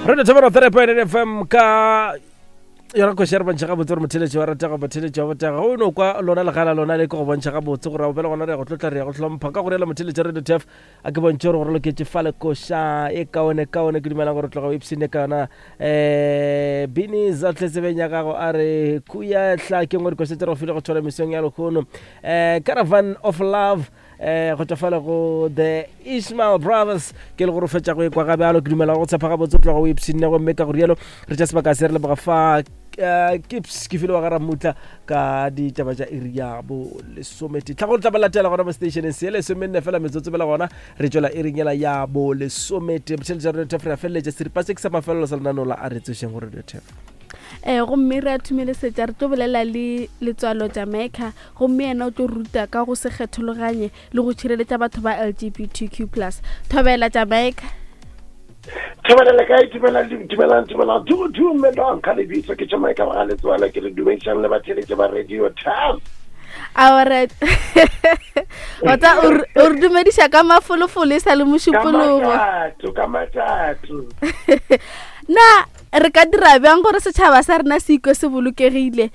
Radio Thobela 3.8 FM ka yona kgoši ya re bontšha gabotse gore motheletši wa ratega motheletši wa botega o no kwa lona legala lona le ke go bontšha gabotse gore bjale gona re ya go tlotla re ya go hlompha ka go reela motheletši radio tf a ke bontšhe gore gore loketše fale koša e kaone kaone ke dumelang gore tloga o ipsene ka yona um bini za tletsebeng ya gago a re kuya hla ke ngwe dikoša tse re go file go thola mesong ya lekgono um caravan of love um go tšwa fale go the Ishmael Brothers ke le gore o fetša go ekwa ga bjalo ke dumela go tshepa gabotse o tloga o ipshinne gomme ka go rialo re tša sebaka se re leboga fa eh, kips ke file wa ga ramutla ka ditaba tša iri ya bo lesomete tlhago tla ba latela gona mo stationeng se lesomenne fela metsotso bela gona re tšwela iring yela ya bo lesomete botheletša radio tef re a feleletša seripa se ke sa mafelelo sa lenaneo la a re tsošeng go radio tef um gomme re a thumelesetša re tlo bolela le letswalo Jamaica gomme yena o tlo ruta ka go se kgethologanye le go tšhireletša batho ba LGBTQ plus. Thobela Jamaica. Thobela le kae? Dumelang, dumelang, dumelang, du, dumelang ka lebitso ke Jamaica wa ga Letswalo ke le dumedišang le batheletše ba Radio Tap. Aore ota o re dumediša ka mafolofolo e sa le mošupologo. Ka matatu, ka matatu. Na re ka dira bjang gore setšhaba sa rena se ikwe se bolokegile?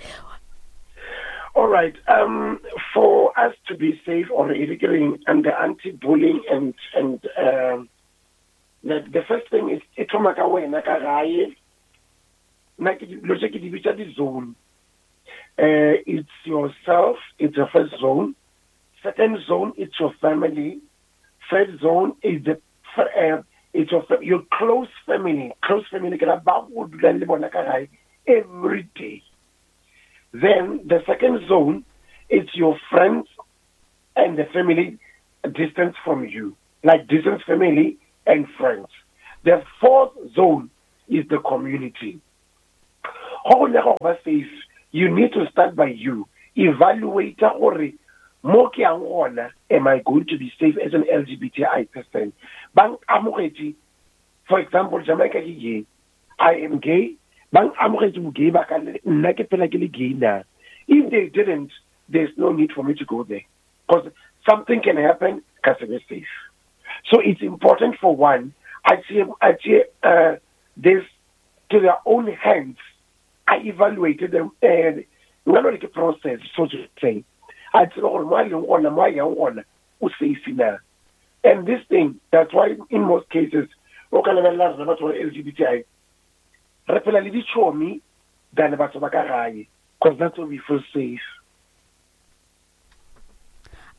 All right. Um, for us to be safe or and the anti-bullying and and um, the, the first thing is e thoma ka wena ka gae. Nna ke dilo tše ke di bitša di-zone. Uh, it's yourself, it's your first zone. Second zone, it's your family. Third zone is the uh, it's your, your close family. Close family ke ra ba go dulang le bona ka gae every day. Then the second zone is your friends and the family distance from you, like distance family and friends. The fourth zone is the community. Go go nyaka go ba safe, you need to start by you. Evaluate gore mo ke yang gona, am I going to be safe as an LGBTI person? Ba amogetše, for example, Jamaica ke gay. I am gay. Ba amogetše bo gay ba ka nna ke phela ke le gay na. If they didn't, there's no need for me to go there. Because something can happen, ka se be safe. So it's important for one, I see, I see, uh, this to their own hands. I evaluated them and nka no re ke process so to say. A tsebe gore mo a leng gona, mo a yang gona, o safe na. And this thing, that's why in most cases, o ka lebelela rena batho ba LGBTI, re phela le ditšhomi than batho ba ka gae, because that's where we feel safe.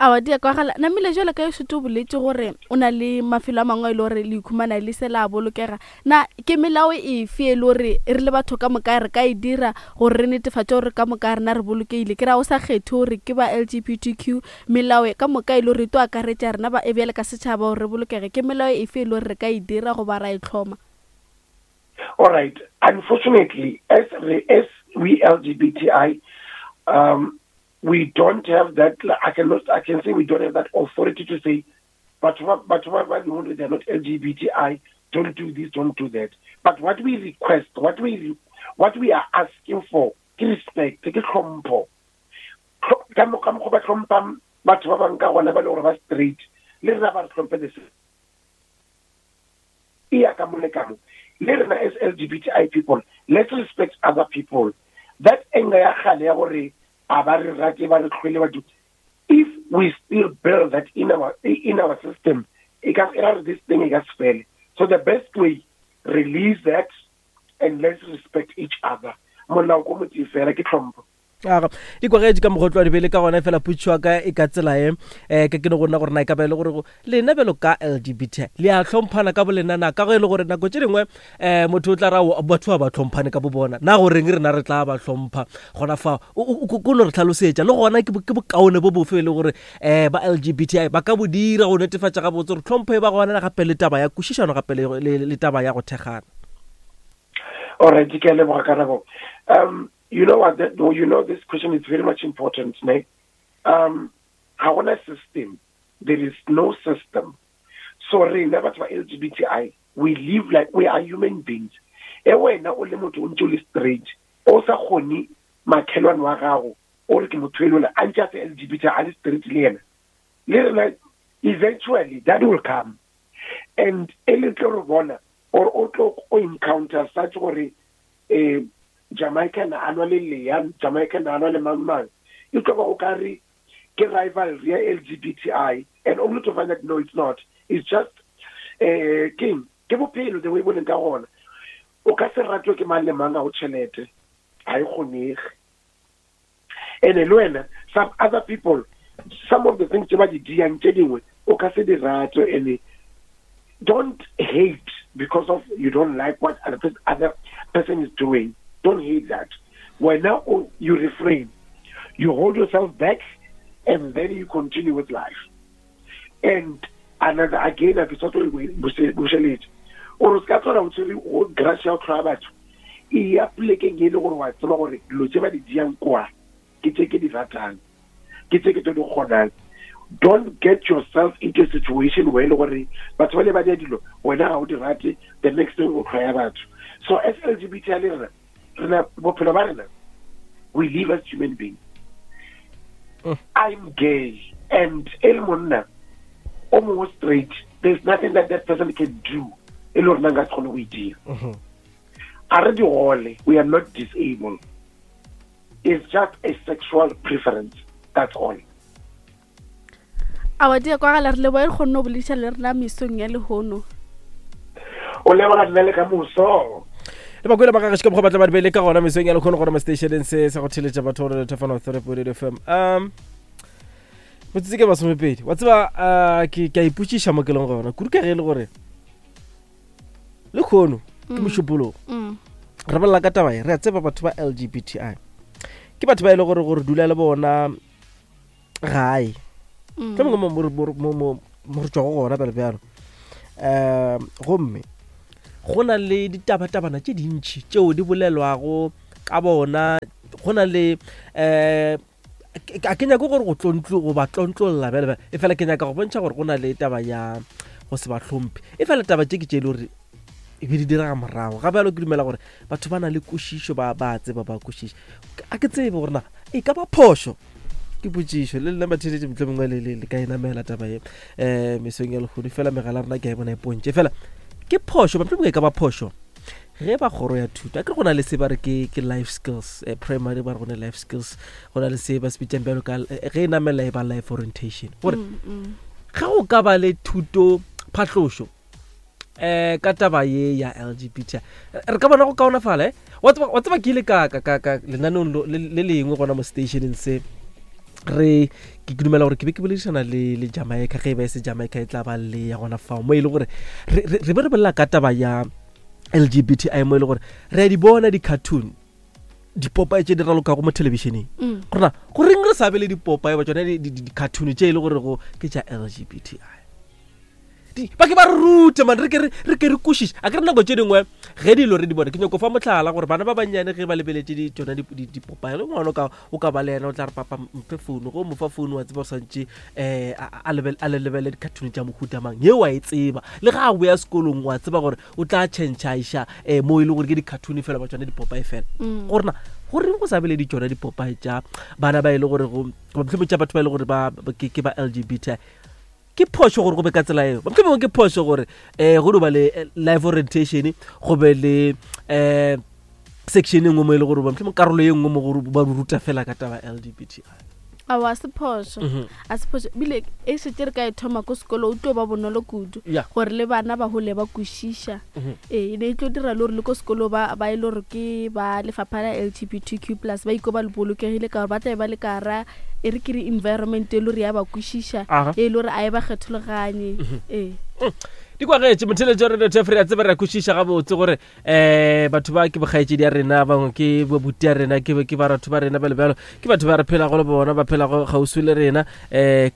Awa di a kwagala. Namile jwale ka šetše o boletše gore o na le mafelo a mangwe a e le gore le ikhumana le se la bolokega. Na ke melao efe e le gore re le batho ka moka re ka e dira gore re netefatše gore ka moka rena re bolokegile? Ke ra o sa kgethe gore ke ba LGBTQ, melao ka moka e le gore e tlo akaretša rena ba e bjale ka setšhaba gore re bolokege. Ke melao efe e le gore re ka e dira goba ra e hloma? All right. Unfortunately, as, as we LGBTI, um, we don't have that, I cannot, I can say we don't have that authority to say, but what, but what, what they're not LGBTI, don't do this, don't do that. But what we request, what we, what we are asking for, ke respect, ke tlhompho. Ka mokgwa ba tlhompang batho ba bang ka gona ba le gore ba straight, le rena ba re tlhomphe the same. E ya ka mo le ka mo. Le rena as LGBTI people, let's respect other people. That anger ya kgale ya gore a ba re rate ba re tlhoile ba do, if we still build that in our, in our system, e ka e ra re this thing e ka se fele. So the best way, release that and let's respect each other. Molao ko motse fela ke tlhompho. Aga, di kwagetše ka mokgotlo wa dibele ka gona fela putšo ya ka e ka tsela e um ka ke no go nna gore na e ka ba e le gore lena bjalo ka LGBT le a hlomphana ka bolena na ka go e le gore nako tše dingwe um motho o tla ra batho ba ba hlomphane ka bo bona na goreng rena re tla ba hlompha gona fa ko no re tlhalosetša le gona ke bokaone bo bofe e le gore um ba LGBTI ba ka bo dira go netefatša gabotse gore tlhompho e ba gona gape le taba ya kwešišano gape le taba ya go thekgana. Alright, ke a leboga karabo. Um, You know what? That, you know this question is very much important. Ne? Um, ga gona system. There is no system. So rena batho ba LGBTI, we live like we are human beings. E wena o le motho o ntse o le straight, o sa kgone makhelwane wa gago o re ke motho e lona a ntse a se LGBT a le straight le yena. Le rena eventually that will come. And e le tlo re bona. Or o tlo o encounter such gore eh Jamaica na a nwa le Lea, Jamaica na a nwa le mang mang. E tlo ba o ka re ke rivalry ya LGBTI and only to find that no it's not. It's just eh keng ke bophelo the way bo leng ka gona. O ka se ratwe ke mang le mang ga o tšhelete. Ga e kgonege. Ene le wena some other people some of the things tse ba di diang tse dingwe o ka se di rate ene don't hate because of you don't like what other, other person is doing. Don't hate that. Wena you refrain. You hold yourself back and then you continue with life. And another again a ke sa tlo bušeletša o re se ka tlhola o tshwere o grass ya go tlhoya batho e ya polekeng e le gore wa tseba gore dilo tse ba di diang kwa ke tse ke di ratang ke tse ke tlo di kgonang. Don't get yourself into a situation where e le gore batho ba le ba dia dilo wena ga o di rate, the next thing o tlhoya batho. So as LGBT le rena rena bophelo ba rena we live as human beings. I'm gay and e le monna o mongwe straight, there's nothing that that person can do e le gore nna nka se kgone go e dira. A re digole, we are not disabled. It's just a sexual preference, that's all. Awa di kwagala, re leboa e kgonne go bolediša le rena mesong ya lehono. O leboga nna le ka moso. Le bakwele ba gagešo ka mokgwa batla ba di beile ka gona mesong ya lekgono gona mo stationeng se sa go theletša batho gore lethefano 3.8 FM. Metsotso ke 20. Wa tseba ke a ipotšiša mo ke leng gona kudu ka ge e le gore le kgono ke mošupologo. Re bolela ka taba e, re a tseba batho ba LGBTI ke batho ba e le gore gore dula le bona gae tlo mongwe mo re tšwago gona bjalo bjalo. Gomme go na le ditabatabana tše dintšhi tšeo di bolelwago ka bona. Go na le a ke nyake gore go tlontlo go ba tlontlolla bjale bjale, e fela ke nyaka go bontšha gore go na le taba ya go se ba hlomphe. E fela taba tše ke tše e le gore e be di direga morago ga bjalo. Ke dumela gore batho ba na le kwešišo, ba ba tseba, ba kwešiša. A ke tsebe gore na e ka ba phošo, ke potšišo le lena batheletše mohlomongwe le le ka e namela taba ye mesong ya lehono. Fela megala rena ke a e bona e pontše, fela ke phošo mohlomongwe e ka ba phošo ge ba kgoro ya thuto a ke re go na le se ba re ke life skills, primary ba re go ne life skills, go na le se ba se bitsang bjalo ka ge e namela e ba life orientation, gore ge go ka ba le thuto phatlošo ka taba ye ya LGBT re ka bona go kaonafala. Wa tseba ke ile ka ka ka ka lenaneong le lengwe gona mo stationeng se re ke dumela gore ke be ke boledišana le Jamaica, ge e ba e se Jamaica e tla ba le ya gona fao mo e le gore re be re bolela ka taba ya LGBTI, mo e le gore re a di bona di-cartoon, dipopae tše di ralokago mo thelebišeneng, gorena goreng re sa be le dipopae ba tsone di-cartoon tše e le gore go ke tša LGBTI, ba ke ba re rute man, re ke re kwešiše. A ke re nako tše dingwe ge dilo re di bone, ke nyako fa mohlala gore bana ba bannyane ge ba lebeletše tsona dipopae, ge ngwana o ka ba le yena o tla re papa mphe founu, go mo fa founu wa tseba o swantše a le lebelele di-cartoon tša mohuta mang ye wa e tseba, le ga a boya sekolong wa tseba gore o tla change a iša mo e le gore ke di-cartoon fela ba tsone dipopae fela. Gorena goreng go sa be le di tsona dipopae tša bana ba e le gore go mohlomong tša batho ba e le gore ba ke ba LGBTI? Ke phošo gore go be ka tsela eo, mohlomongwe ke phošo gore go no ba le life orientation, go be le section e nngwe mo e le gore mohlomongwe karolo e nngwe mo gore ba ruta fela ka taba LGBTI. Aowa, a se phošo, a se phošo. Ebile e šetše re ka e thoma ko sekolo, o tlo ba bonolo kudu gore le bana ba gole ba kwešiša. Ee, e ne e tlo dira le gore le ko sekolo ba e le gore ke ba lefapha la LGBTQ plus ba iko ba le bolokegile, ka gore ba tlabe ba le ka gara e re ke re environment e le gore ya ba kwešiša, e le gore a e ba kgethologanye. Ee. Di kwagetše motheletšo re dothe re a tseba, re a kwešiša gabotse gore batho ba ke bokgaetšedi ya rena, bangwe ke bobuti ya rena, ke baratho ba rena, bjalo bjalo, ke batho ba re phelago le bona, ba phelago kgauswi le rena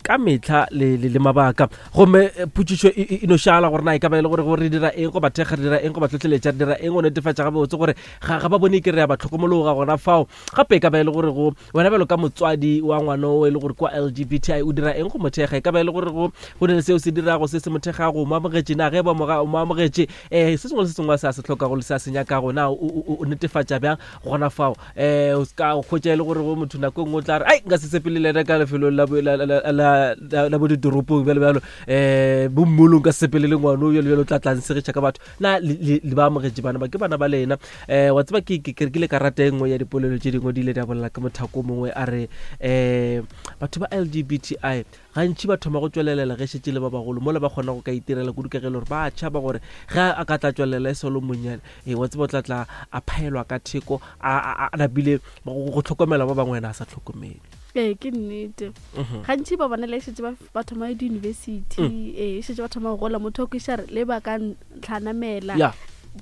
ka metlha le mabaka. Gomme potšišo e no šala gore na e ka ba e le gore re dira eng go ba thekga, re dira eng go ba tlhotlheletša, re dira eng go netefatša gabotse gore ga ba bone ke re ya ba tlhokomologa gona fao. Gape e ka ba e le gore go wena bjalo ka motswadi wa ngwana o e le gore kwa LGBTI o dira eng go mo thekga, e ka ba e le gore go ne le seo se dirago se se mo thekgago, mo amogetše. amogetše na ge ba mo amogetše um se sengwe le se sengwe se a se hlokago le se a se nyakago na o netefatša bjang gona fao um o ka hwetša e le gore go motho nako e nngwe o tla re ai nka se sepele le ena ka lefelong la bo ditoropong bjalo bjalo um bommolong ka se sepele le ngwano bjalo bjalo o tla tla nsegiša ka batho na le ba amogetše bana ba ke bana ba lena um wa tseba ke rekile karata e nngwe ya dipolelo tše dingwe di ile di a bolela ke mothako mongwe a re um batho ba l g b t i gantši ba thoma go tšwelelela ge šetše le ba bagolo mola ba kgona go ka itirela kudu ka ge e le gore ba tšhaba gore ge a ka tla tšwelela e solo monnyane ee wa tseba o tla tla a phaelwa ka theko a napile go tlhokomela ba bangwe wena a sa tlhokomele ee ke nnete mhm. gantši ba bona le šetse ba thoma di-university mm. ee šetse ba thoma go gola motho o kweša re le ba ka ntlhanamela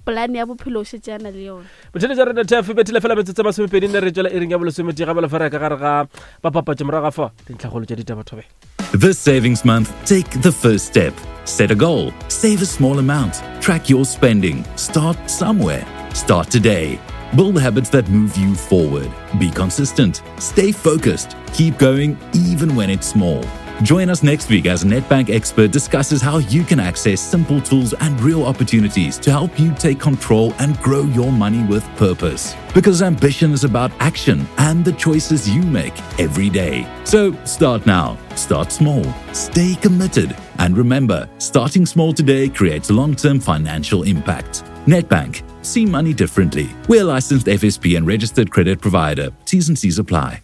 polane ya bophelo o šetse a na le yone botheletša rena tf bethile fela metsotso masomepedi ne re tšwela iring ya bolesometee ga balefara ka gare ga bapapatšo morago ga fa dintlhagolo tša ditaba thobela This savings month, take the first step. Set a goal, save a small amount, track your spending, start somewhere. Start today. Build habits that move you forward. Be consistent, stay focused, keep going even when it's small. Join us next week as Nedbank expert discusses how you can access simple tools and real opportunities to help you take control and grow your money with purpose. Because ambition is about action and the choices you make every day. So start now, start small, stay committed, and remember starting small today creates long term financial impact. Nedbank, see money differently. We're licensed FSP and registered credit provider. T's and C's apply.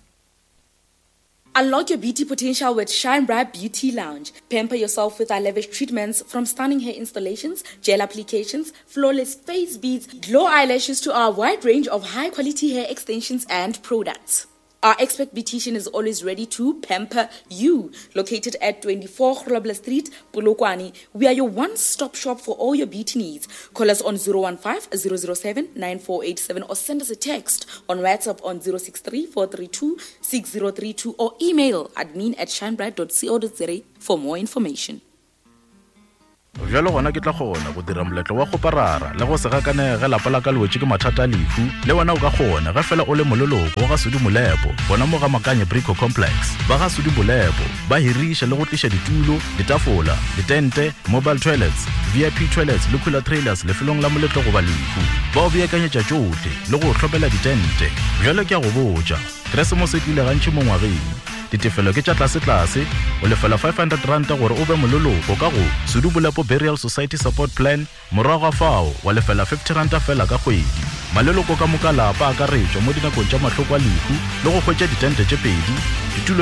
Unlock your beauty potential with Shine Bright Beauty Lounge. Pamper yourself with our lavish treatments from stunning hair installations, gel applications, flawless face beads, glow eyelashes to our wide range of high quality hair extensions and products. Our expert beautician is always ready to pamper you. Located at 24 Grobler Street, Polokwane, we are your one-stop shop for all your beauty needs. Call us on 015 007 9487 or send us a text on WhatsApp on 063 432 6032 or email admin at shinebright.co.za for more information. Bjalo gona ke tla kgona go dira moletlo wa kgoparara le go se gakanege ge lapa la ka le wetše ke mathata a lehu. Le wena o ka kgona ge fela o le moleloko wa ga Sudi Molepo gona mo ga Makanye Brico Complex. Ba ga Sudi Molepo ba hiriša le go tliša ditulo, ditafola, ditente, mobile toilets, VIP toilets le cooler trailers lefelong la moletlo goba lehu. Ba o beakanyetša tšohle le go o hlomela ditente. Bjalo ke a go botša, Keresemose e tlile gantši mo ngwageng. Ditefelo ke tša tlasetlase, o lefela R500 gore o be moleloko ka go Sudu Bolepo Burial Society Support Plan, morago ga fao wa lefela R50 feela ka kgwedi. Maleloko ka moka a lapa a akaretšwa mo dinakong tša mahloko a lehu le go hwetša ditente tše pedi, ditulo.